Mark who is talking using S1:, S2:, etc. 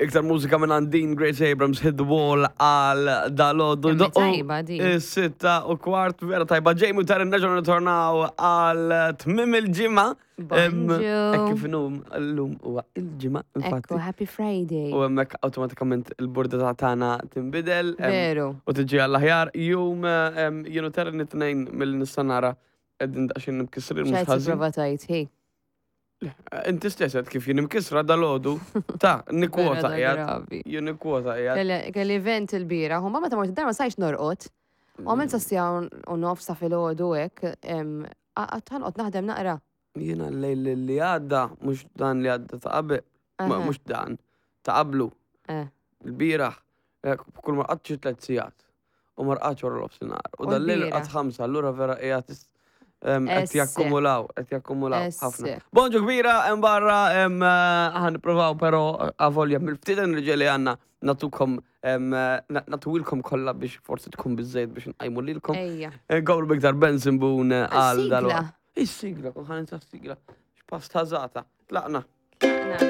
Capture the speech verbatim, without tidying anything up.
S1: Iktar mużika minn Andin Grace Abrams, Hit the Wall għal dalgħodu.
S2: Kemm hi tajba din.
S1: Sitta u kwart, vera tajba. Jamie u Taryn nerġgħu nirritornaw għal tmiem il-ġimgħa.
S2: Bonġu.
S1: Hekk kif inhum llum huwa il-ġimgħa, infatti.
S2: Ekku, Happy Friday.
S1: U hemmhekk awtomatikament il-burdata tagħna tinbidel. em,
S2: Veru.
S1: U tiġi għall-aħjar. Jum em, jien u Taryn it-tnejn mill-nista nara qegħdin daqsxejn imkissrin mhux
S2: ċajt
S1: ħażin.
S2: prova tajt, hi.
S1: Inti stess għedt kif jien imkissra dalgħodu. Ta' nikkwota
S2: Vera
S1: qiegħed.
S2: gravi.
S1: Jien nikkwota qiegħed.
S2: Kelli kelli event il-bieraħ, u ma meta mort id-dar ma stajtx norqod. U għamilt sa siegħa u nofs ta' filgħodu hekk, għedt ħa noqgħod naħdem naqra.
S1: Jiena l-lejl li għadda, mhux dan li għadda ta' qabel, ma
S2: Aha.
S1: mhux dan, ta' qablu,
S2: Eh.
S1: il-bieraħ, eh, kull ma rqadtx tliet sigħat. U ma rqadx wara l-ofsinhar. U
S2: U
S1: dal-lejl
S2: l-bieraħ?
S1: rqadt ħamsa, allura vera qiegħed is- em, qed
S2: Esse.
S1: jakkumulaw, qed jakkumulaw ħafna.
S2: Esse.
S1: Bonġu kbira, hemm barra, hemm eh, ħa nippruvaw però avolja mill-ftit enerġija li għandna natukom em, eh, na- natuwilkom kollha biex forsi tkun biżejjed biex nqajmu lilkom.
S2: Ejja.
S1: Għawru biktar Benson Boone għal
S2: Sigla.
S1: dal. Is-sigla, kon ħa ninsa s-sigla. X'pass tażata. Tlaqna.
S2: Tlaqna.